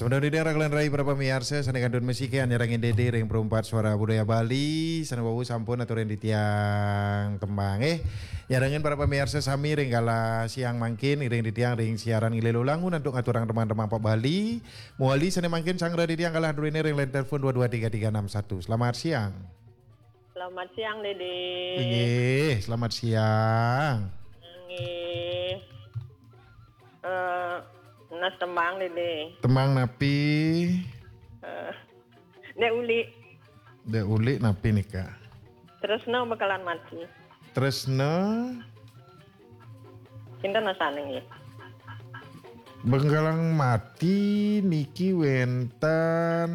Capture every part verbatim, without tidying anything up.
Semeton titiang rakelan rai para pamiarsa sané kantun masikian nyarengin Dédé ring Perumpat Suara Budaya Bali, sané wau sampun aturin titiang tembang. Eh, nyarengin para pamiarsa sami ring galah siang mangkin, iring titiang ring siaran ngilir lulangun antuk ngaturang tembang-tembang pop Bali. Mawali sané mangkin sanggra titiang galah durine ring line telepon dua dua tiga tiga enam satu. Selamat siang. Selamat siang, Dédé. Inggih, selamat siang. Inggih. Eh, nunas tembang, Dédé. Tembang napi? Eh, Dék Uli. Dék Uli napi nika? Tresna Bengkalan Mati. Tresna Kinten asané nggih. Bengkalan Mati niki wénten,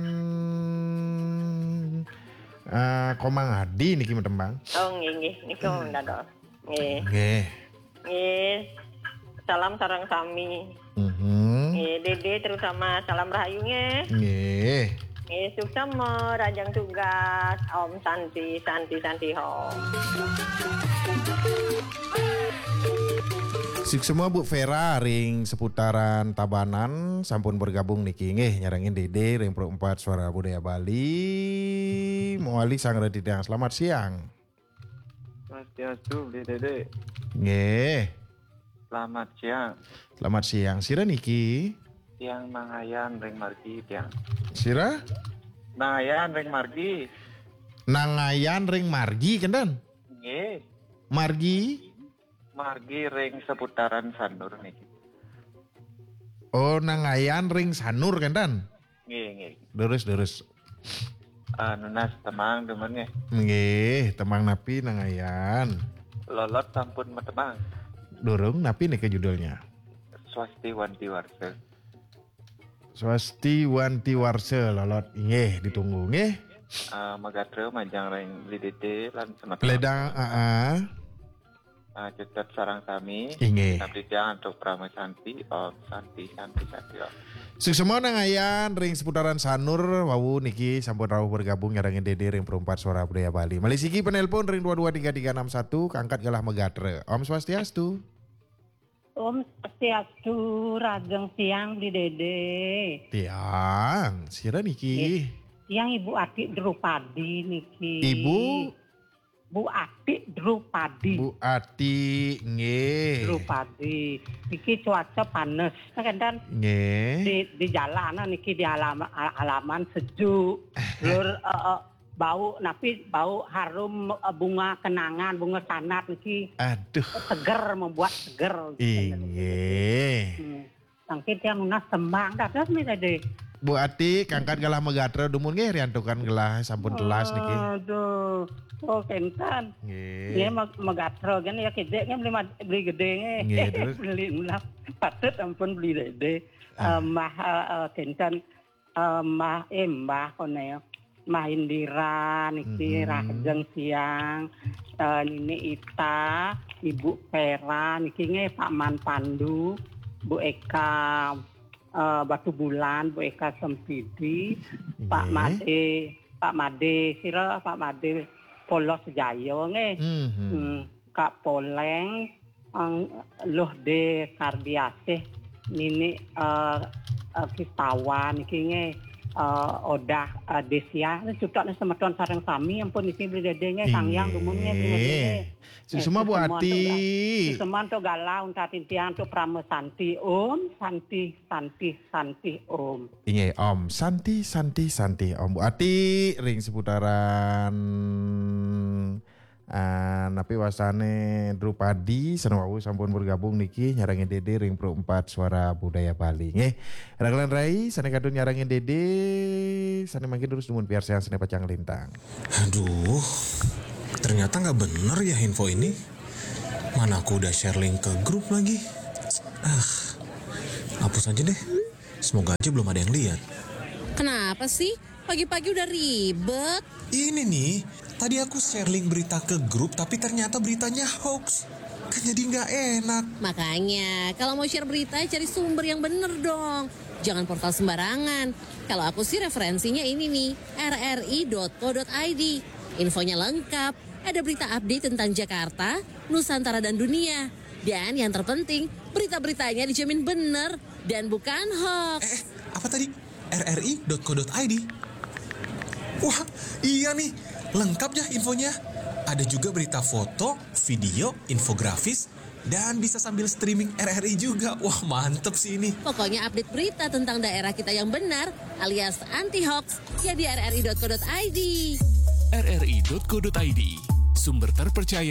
eh, Komang Adi niki matembang. Oh, nggih, nggih. Nika dados. Nggih. Nggih. Nggih. Salam sareng sami. Mhm. Nggih, Dédé terutama salam rahayu nggih. Nggih. Nggih, suksma, rahajeng tugas. Om Santi, Santi, Santi Om. Suksma Bu Vera ring seputaran Tabanan sampun bergabung niki nggih nyarengin Dédé ring Pro empat Suara Budaya Bali. Mawali sanggra titiang. Selamat siang. Swastiastu, Bli Dédé. Nggih. Selamat siang. Selamat siang. Sira niki? Tiang Nangayan ring margi, tiang. Sira? Nangayan ring margi. Nangayan ring margi, kenten? Nggih. Margi? Margi ring seputaran Sanur niki. Oh, Nangayan ring Sanur, kenten? Nggih, nggih. Durus, durus. Ah, nunas tembang dumun nggih. Nggih, tembang napi Nangayan? Lolot sampun matembang. Durung, napi nika judulnya? Swasti Wanti Warsa. Swasti Wanti Warsa, Lolot. Nggih, ditunggu nggih. Ah, magatra majeng ring Bli Dédé lan semeton. Ledang, aa. Ah, cecep sareng sami. Inggih. Abdi titiang antuk Parama Santi, Om Santi, Santi, Santi, Om. Suksma Nangayan ring seputaran Sanur, wau niki sampun rauh bergabung nyarengin Dédé ring Perumpat Suara Budaya Bali. Malih siki penelpon ring dua dua tiga tiga enam satu, kaangkat galah magatra. Om Swastiastu. Om Swastiastu, rahajeng siang Bli Dédé. Tiang, sira niki? Nggih. Tiang Ibu Ati Drupadi niki. Ibu? Bu Ati Drupadi. Bu Ati, nggih. Drupadi. Niki cuaca panas, kenten? Nggih. Di, di jalanan niki di alam-, al-, alaman sejuk. Lur, eh, eh, bau, napi bau harum, eh, bunga kenangan, bunga sanat niki. Aduh. Seger, membuat seger. Inggih. Hmm. Mangkin tiang nunas tembang, dados Bli Dédé. Bu Ati, kaangkat galah magatra dumun nggih, riantukan galah sampun telas niki. Aduh. Oh, kenten. Nggih. Nggih, mag-, magatra kan ya kidik nggih Bli Mad-, Bli Gedé nggih. Nggih, terus? Bli Melah. Patut ampun Bli Dédé. Ah. Eh, Mbah, eh, eh, kenten, eh, Mbah, eh, Mbah koné ya. Mbah Indira niki, mhm, rahajeng siang, eh, Nini Ita, Ibu Vera niki nggih, Pak Man Pandu, Bu Eka, eh, Batu Bulan, Bu Eka Sempidi, Pak, nggih, Made, Pak Made, sira Pak Made Polos Jaya nggih. Mhm. Hmm, Kak Poleng, Ang, Luh De Kardiasih, Nini, eh, eh, Kistawan niki nggih, eh, Odah, eh, Desia, cutetné semeton sareng sami ampun niki Bli Dédé nggih, Sang Hyang dumun nggih, Bli Dédé nggih. Inggih. Suksma Bu Ati. Suksma antuk galah, untat titiang antuk Parama Santi. Om Santi, Santi, Santi Om. Inggih, Om Santi, Santi, Santi Om. Bu Ati ring seputaran, ah, napi wastané Drupadi, sané wau sampun bergabung niki nyarengin Dédé ring Pro empat Suara Budaya Bali. Nggih. Rakelan rai, sané kantun nyarengin Dédé, sané mangkin durus dumun piarsayang sané pacang lintang. Aduh, ternyata nggak bener ya info ini. Mana aku udah share link ke grup lagi. Ah, hapus aja deh. Semoga aja belum ada yang lihat. Kenapa sih? Pagi-pagi udah ribet. Ini nih, tadi aku share link berita ke grup, tapi ternyata beritanya hoax. Kan jadi nggak enak. Makanya, kalau mau share berita, cari sumber yang bener dong. Jangan portal sembarangan. Kalau aku sih referensinya ini nih, R R I dot co dot I D. Infonya lengkap, ada berita update tentang Jakarta, Nusantara dan dunia. Dan yang terpenting, berita-beritanya dijamin bener dan bukan hoax. Eh, eh, apa tadi? R R I dot co dot I D. Wah, iya nih, lengkap ya infonya. Ada juga berita foto, video, infografis, dan bisa sambil streaming R R I juga. Wah, mantep sih ini. Pokoknya update berita tentang daerah kita yang benar alias anti hoax ya di R R I dot co dot I D. R R I dot co dot I D, sumber terpercaya